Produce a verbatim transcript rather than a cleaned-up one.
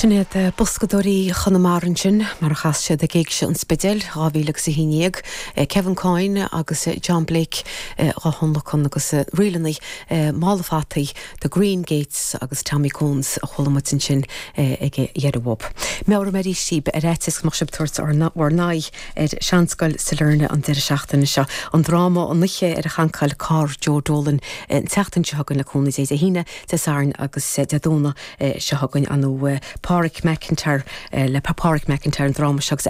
Sin iad Boscadóirí Chonamara ansin mar a chas siad ag Éigse an Spidéil dhá mhíle agus a haon déag, Kevin Coyne agus John Blake á dtionlacan agus ríleanna Mála Fataí, The Green Gates agus Tommy Cones a chuala muid ansin ag deireadh uaidh. Meabhraím arís daoibh ar fhaitíos go mbeadh sibh ag tabhairt bhur n-aghaidh ar Seanscoil Sailearna an deireadh seachtaine seo. An dráma An Oíche ar a Chancáil Carr Joe Dolan an tseachtain seo chugainn le cúnamh Dé Dé hAoine, Dé Sathairn agus Dé Domhnaigh seo chugainn an Pádraig McIntyre le Pádraig McIntyre an dráma seo agus